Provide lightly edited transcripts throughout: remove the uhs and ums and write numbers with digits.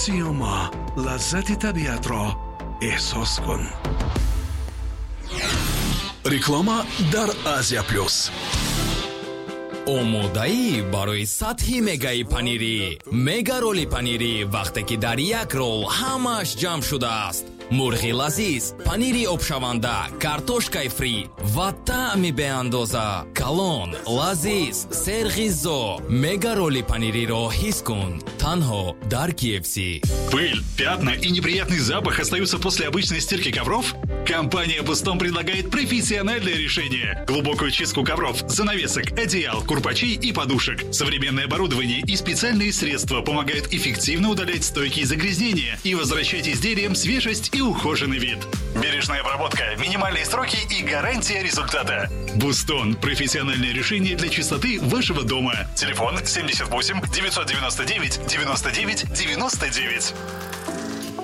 Сиёма, лаззати табиатро эҳсос кун. Реклама дар Азия Плюс. Омодаӣ барои сатҳи мегаи панирӣ? Мега роли панирӣ, вақте ки дар як рол ҳамааш ҷамъ шудааст: мурғи лазиз, панири обшаванда, картошкаи фри ва таъми беандоза. Калон, лазиз, серғизо. Мега роли панириро ҳис кун танҳо дар KFC. Пыль, пятна и неприятный запах остаются после обычной стирки ковров? Компания «Бустон» предлагает профессиональное решение. Глубокую чистку ковров, занавесок, одеял, курпачей и подушек. Современное оборудование и специальные средства помогают эффективно удалять стойкие загрязнения и возвращать изделиям свежесть и ухоженный вид. Бережная обработка, минимальные сроки и гарантия результата. «Бустон» – профессиональное решение для чистоты вашего дома. Телефон 78 999 99 99.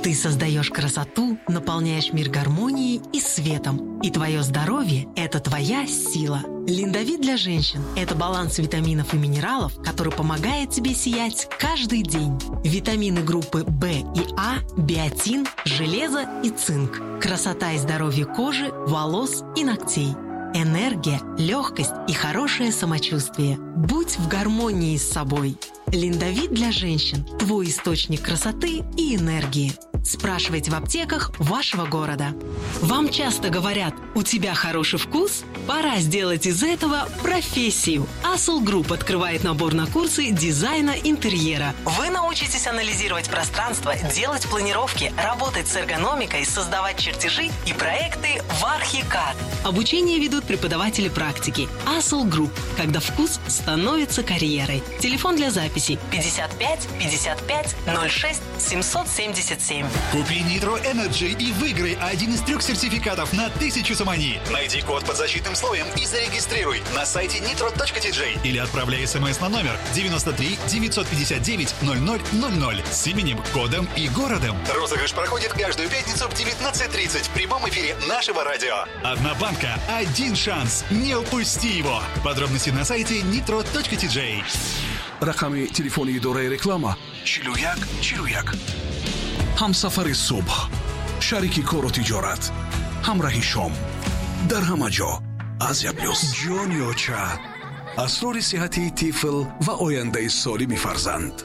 Ты создаешь красоту, наполняешь мир гармонией и светом. И твое здоровье – это твоя сила. Линдовит для женщин – это баланс витаминов и минералов, который помогает тебе сиять каждый день. Витамины группы В и А, биотин, железо и цинк. Красота и здоровье кожи, волос и ногтей. Энергия, легкость и хорошее самочувствие. Будь в гармонии с собой. Линдовит для женщин – твой источник красоты и энергии. Спрашивайте в аптеках вашего города. Вам часто говорят: «У тебя хороший вкус»? Пора сделать из этого профессию. Асул Групп открывает набор на курсы дизайна интерьера. Вы научитесь анализировать пространство, делать планировки, работать с эргономикой, создавать чертежи и проекты в Archicad. Обучение ведут преподаватели практики. Асул Групп. Когда вкус становится карьерой. Телефон для записи 55 55 06 777. Купи Nitro Energy и выиграй один из трех сертификатов на 1000 сомони. Найди код под защитным слоем и зарегистрируй на сайте nitro.tj или отправляй смс на номер 93 959 0000 с именем, кодом и городом. Розыгрыш проходит каждую пятницу в 19:30 в прямом эфире нашего радио. Одна банка, один шанс. Не упусти его. Подробности на сайте nitro.tj. Рақами телефони идораи реклама 41 41. Ҳамсафари субҳ, шарики кору тиҷорат, ҳамраҳи шом, дар ҳама ҷо Азия Плюс. Ҷони оча, асрори сиҳати тифл ва ояндаи солими фарзанд.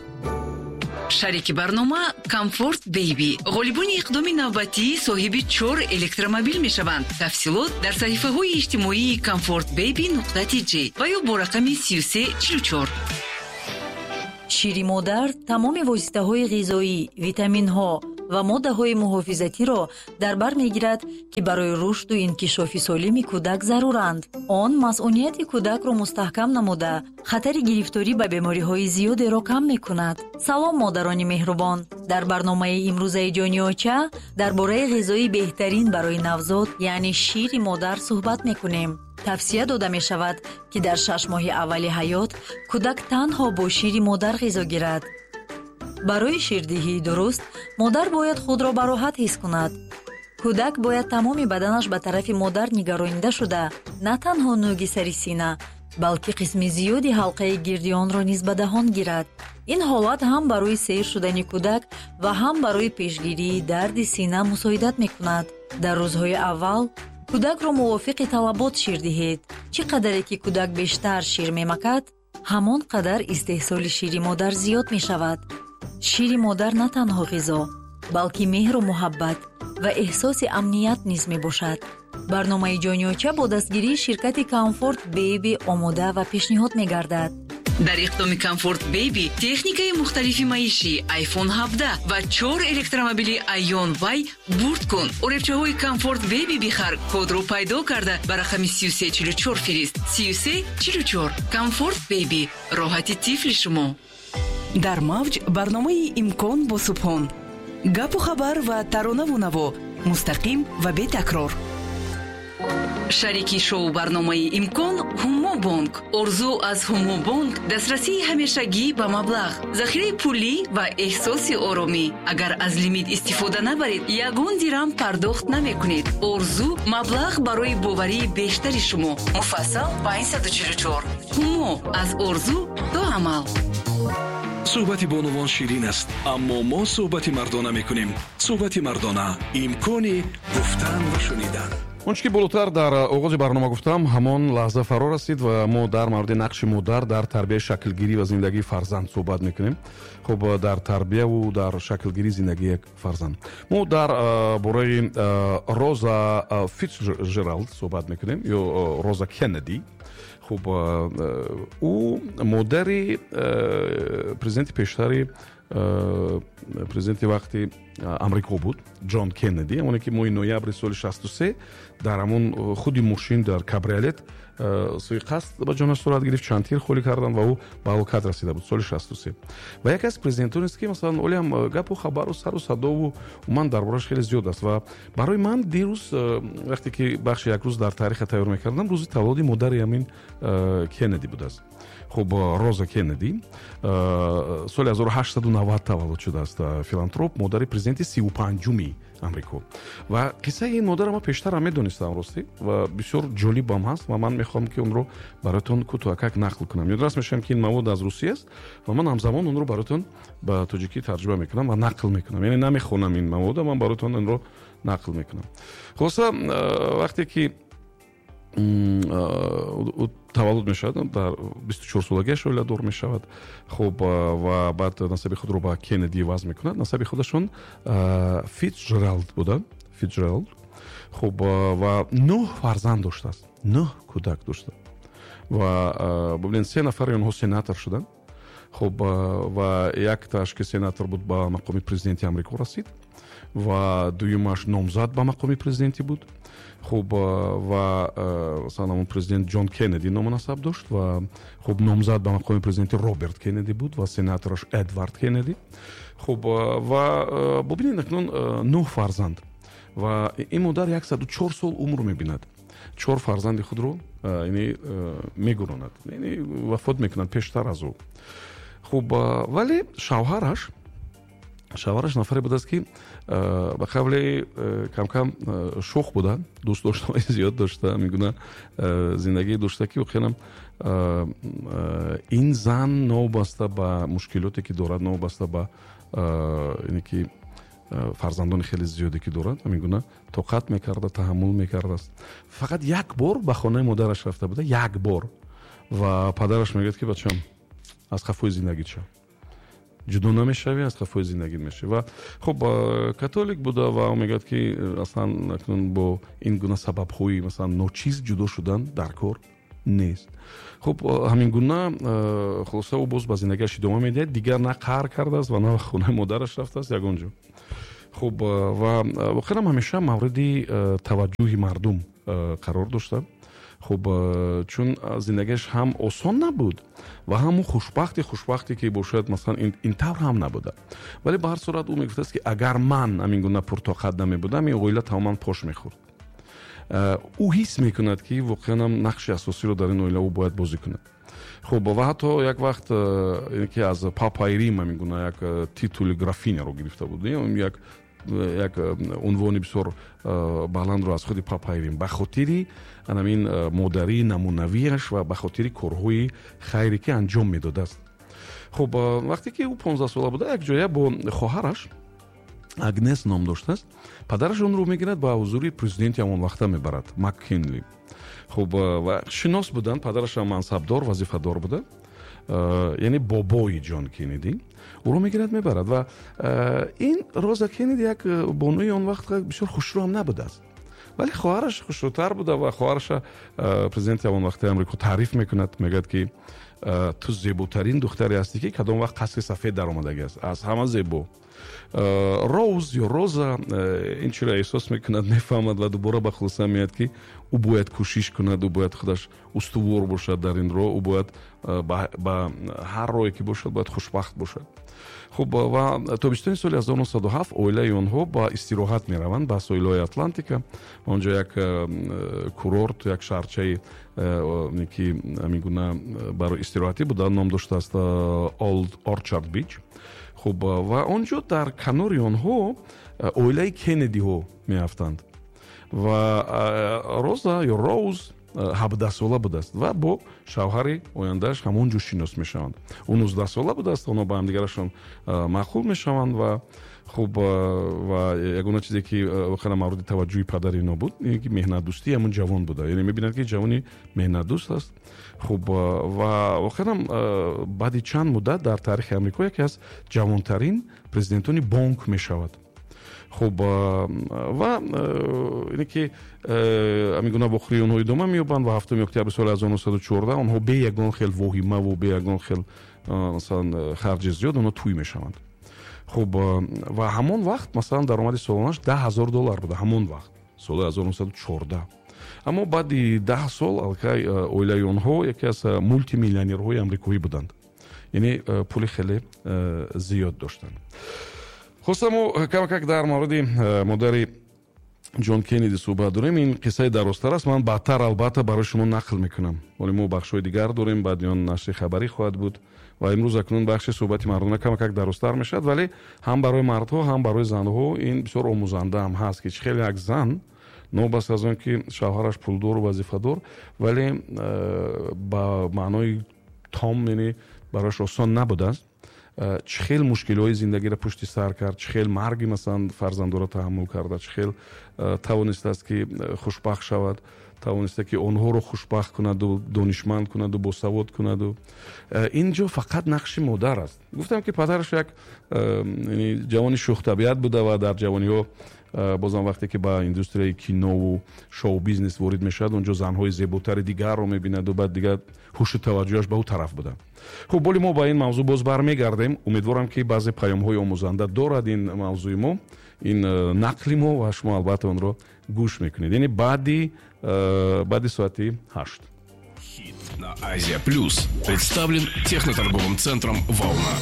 Шарики барнома Комфорт Бейби. Ғолибони иқдоми навбатӣ соҳиби чор электромобил мешаванд. Тафсилот дар саҳифаҳои иҷтимоии Комфорт Бейби нуқта тж ва ё бо рақами 3344. Шири модар тамоми воситаҳои ғизоӣ, витаминҳо ва моддаҳои муҳофизатиро дар бар мегирад, ки барои рушду инкишофи солими кӯдак заруранд. Он масъунияти кӯдакро мустаҳкам намуда, хатари гирифторӣ ба бемориҳои зиёдеро кам мекунад. Салом, модарони меҳрубон! Дар барномаи имрӯзаи Ҷони оча дар бораи ғизои беҳтарин барои навзод, яъне шири модар, суҳбат мекунем. Тавсия дода мешавад, ки дар 6 моҳи аввали ҳаёт кӯдак танҳо бо шири модар ғизо гирад. Барои ширдиҳии дуруст модар бояд худро бароҳат ҳис кунад. Кӯдак бояд тамоми баданаш ба тарафи модар нигаронида шуда, на танҳо нӯги сари сина, балки қисми зиёди ҳалқаи гирди онро низ ба даҳон гирад. Ин ҳолат ҳам барои сер шудани кӯдак ва ҳам барои пешгирии дарди сина мусоидат мекунад. Дар рӯзҳои аввал кӯдакро мувофиқи талабот шир диҳед. Чӣ қадаре ки кӯдак бештар шир мемакад, ҳамон қадар истеҳсоли шири модар зиёд мешавад. Шири модар на танҳо ғизо, балки меҳру муҳаббат ва эҳсоси амният низ мебошад. Барномаи Ҷони оча бо дастгирии ширкати Комфорт Бейби омода ва пешниҳод мегардад. Дар иқдоми Комфорт Бейби техникаи мухталифи маишӣ, iPhone 17 ва чор электромобили Aion Y бурд кун. Оребчаҳои Комфорт Бейби бихар, кодро пайдо карда ба рақами 3344 фирист. 3344. Комфорт Бейби, роҳати тифли шумо. Дар мавҷ барномаи Имкон бо Субҳон. Гапу хабар ва таронаву наво мустақим ва бетакрор. Шарики шоу барномаи Имкон Ҳумо Бонк. Орзу аз Ҳумо Бонк дастрасии ҳамешагӣ ба маблағ, захираи пулӣ ва эҳсоси оромӣ. Агар аз лимит истифода набаред, ягон дирам пардохт намекунед. Орзу маблағ барои боварии бештари шумо. Муфассал 544. Ҳумо аз орзу до амал. Суҳбати бонувон ширин аст, аммо мо суҳбати мардона мекунем. Суҳбати мардона, имкони гуфтан ва шунидан. Он чӣ ки болотар дар оғози барнома гуфтам, ҳамон лаҳза фаро расид ва мо дар мавриди нақши модар дар тарбияи, шаклгирӣ ва зиндагии фарзанд суҳбат мекунем. Хуб, дар тарбияву дар шаклгирии зиндагии як фарзанд мо дар бораи Роза Фитсҷералд суҳбат мекунем ё Роза Кеннеди. Хуб, ӯ модари президенти пештари, президенти вақти Амрико буд, Ҷон Кеннеди, оне ки моҳи ноябри соли 63 дар ҳамон худи мошин, дар кабриолет суиқасд ба ҷонаш сурат гирифт, чанд тир холӣ карданд ва ӯ ба ҳалокат расида буд соли 63. Ва яке аз президентонест, ки масалан ҳолиам гапу хабару сару садову умуман дар борааш хеле зиёд аст. Ва барои ман дирӯз, вақте ки бахши «Як рӯз дар таъриха» тайёр мекардам, рӯзи таваллуди модари ҳамин Кеннеди будааст. Хуб, Роза Кеннеди соли 1890 таваллуд шудааст, филантроп, модари президенти 35-уми Амрико. Ва қиссаи ин модарро ман пештарам медонистам, ростӣ, ва бисёр ҷолибам ҳаст ва ман мехоҳам, ки онро бароятон кӯтоҳакак нақл кунам. Ёдрас мешавам, ки ин мавод аз русӣ аст ва ман ҳамзамон онро бароятон ба тоҷикӣ тарҷума мекунам ва нақл мекунам, яъне намехонам ин мавода, ман бароятон инро нақл мекунам. Хулоса, вақте ки ӯ таваллуд мешавад, дар 24-солагиаш оиладор мешавад. Хуб, ва баъд насаби худро ба Кеннеди иваз мекунад. Насаби худашон Фитсҷералд буда, Фитсҷералд. Хуб, ва нӯҳ фарзанд доштааст, нӯҳ кӯдак дошта ва бубинед, се нафари онҳо сенатор шуданд. Хуб, ва яктааш, ки сенатор буд, ба мақоми президенти Амрико расид ва дуюмаш номзад ба мақоми президентӣ буд. Хуб, ва масалан ҳамон президент Ҷон Кеннеди ному насаб дошт ва хуб, номзад ба мақоми президенти Роберт Кеннеди буд ва сенатораш Эдвард Кеннеди. Хуб, ва бубинед, акнун нӯҳ фарзанд ва ин модар 104 сол умр мебинад, чор фарзанди худро яъне мегуронад, яъне вафот мекунад пештар аз ӯ. Хуб, вале шавҳараш нафаре будааст, ки ба қавле камкам шӯх буда, дӯстдоштаҳои зиёд дошта, ҳамин гуна зиндагие дошта, ки воқеанам ин зан, новобаста ба мушкилоте, ки дорад, новобаста ба ине ки фарзандони хеле зиёде ки дорад, ҳамин гуна тоқат мекарда, таҳаммул мекардааст. Фақат як бор ба хонаи модараш рафта буда, як бор. Ва падараш мегӯяд, ки бачам, аз қафои зиндагит шав, ҷудо намешавӣ, аз қафои зиндагит мешавӣ. Ва хуб, католик буда ва ӯ мегӯяд, ки аслан акнун бо ин гуна сабабҳои масалан ночиз ҷудо шудан дар кор нест. Хуб, ҳамин гуна, хулоса, ӯ боз ба зиндагиаш идома медиҳад, дигар на қаҳр кардааст ва на ба хонаи модараш рафтааст ягон ҷо. Хуб, ва воқеан ҳамеша мавриди таваҷҷӯҳи мардум қарор дошта. Хуб, чун зиндагиаш ҳам осон набуд ва ҳам хушбахте, ки бошад, масалан, ин тавр ҳам набуда, вале ба ҳар сурат ӯ мегуфтааст, ки агар ман ҳамин гуна пуртоқат намебудам, ин оила тамоман пош мехӯрд. Ӯ ҳис мекунад, ки воқеан нақши асосиро дар ин оила ӯ бояд бозӣ кунад. Хуб, ва ҳатто як вақт ки аз папаи Рим ҳамин гуна як титули графиняро гирифта буд, як унвони бисёр баландро аз худи папаи Рим, ба хотири ҳамин модарии намунавиаш ва ба хотири корҳои хайре, ки анҷом медодааст. Хуб, вақте ки ӯ 15-сола буда, якҷоя бо хоҳараш, Агнес ном доштааст, падараш онро мегирад, ба ҳузури президенти ҳамон вақта мебарад, Маккинли. Хуб, ва шинос буданд, падарашам мансабдор, вазифадор буда, яъне бобои Ҷон Кеннеди ӯро мегирад, мебарад. Ва ин Роза Кеннеди як бонуи он вақт бисёр хушрӯ ҳам набудааст, вале хоҳараш хушрӯтар буда ва хоҳараша президенти ҳамон вақтаи Амрико таъриф мекунад, мегӯяд, ки ту зеботарин духтаре ҳастӣ, ки кадом вақт қасри сафед даромадагӣ аст, аз ҳама зебо. Роуз ё Роза ин чиро эҳсос мекунад, мефаҳмад ва дубора ба хулоса меояд, ки ӯ бояд кӯшиш кунад, ӯ бояд худаш устувор бошад дар ин роҳ, ӯ бояд ба ҳар роҳе ки бошад, бояд хушбахт бошад. Хуб, ва тобистони соли 1907 оилаи онҳо ба истироҳат мераванд ба соҳилҳои Атлантика. Онҷо як курорт, як шаҳрчаи, ки ҳамин гуна барои истироҳатӣ буда, ном доштааст Олд Орчард Бич. Хуб, ва он ҷо дар канори онҳо оилаи Кеннедиҳо меафтанд ва Роза ё Роуз 17-сола будааст ва бо шавҳари ояндааш ҳамон ҷо шинос мешаванд. Ӯ 19-сола будааст, онҳо ба ҳамдигарашон маъқул мешаванд. Ва хуб, ва ягона чизе, ки воқеан мавриди таваҷҷӯҳи падари ино буд, ин ки меҳнатдӯстии ҳамон ҷавон буда, яъне мебинад, ки ҷавони меҳнатдӯст аст. Хуб, ва воқеанам баъди чанд муддат дар таърихи Амрико яке аз ҷавонтарин президентони бонк мешавад. Хуб, ва ине ки ҳамин гуна вохӯрии онҳо идома меёбанд ва 7 октябри соли 1914 онҳо бе ягон хел воҳимаву бе ягон хел, масалан, харҷи зиёд онҳо тӯй мешаванд. Хуб, ва ҳамон вақт, масалан, даромади солонааш 10 000 доллар буда, ҳамон вақт, соли 1914. Аммо баъди 10 сол аллакай оилаи онҳо яке аз мултимиллионерҳои амрикоӣ буданд, яъне пули хеле зиёд доштанд. Хулоса, мо камакак дар мавриди модари Ҷон Кеннеди суҳбат дорем. Ин қиссаи дарозтар аст, ман баъдтар албатта барои шумо нақл мекунам. Вале мо бахшҳои дигар дорем, баъди он нашри хабарӣ хоҳад буд ва имрӯз акнун бахши суҳбати мардона камакак дарозтар мешавад, вале ҳам барои мардҳо, ҳам барои занҳо ин бисёр омӯзандаам ҳаст, ки чӣ хеле як зан, новобаста аз он ки шавҳараш пулдору вазифадор, вале ба маънои том, яъне барояш осон набудааст, чӣ хел мушкилиҳои зиндагиро пушти сар кард, чӣ хел марги, масалан, фарзандоро таҳаммул карда, чӣ хел тавонистааст, ки хушбахт шавад, тавониста, ки онҳоро хушбахт кунаду донишманд кунаду босавод кунаду. Ин ҷо фақат нақши модар аст. Гуфтам, ки падараш як ҷавони шӯхтабиат буда ва дар ҷавониҳо бозам вақте ки ба индустрияи кинову шоу-бизнес ворид мешавад, он ҷо занҳои зеботари дигарро мебинаду баъд дигар ҳушу таваҷҷӯҳаш ба ӯ тараф буда. Хуб, боли мо ба ин мавзӯъ боз бармегардем. Умедворам, ки баъзе паёмҳои омӯзанда дорад ин мавзӯи мо, ин нақли мо, ва шумо албатта онро гӯш мекунед, яъне баъди соати 8. На Азия Плюс представлен техноторговым центром «Волна».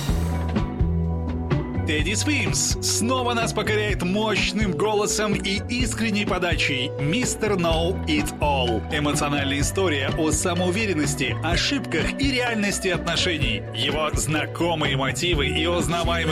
Тедди Свимс снова нас покоряет мощным голосом и искренней подачей. Мистер Know It All. Эмоциональная история о самоуверенности, ошибках и реальности отношений. Его знакомые мотивы и узнаваемый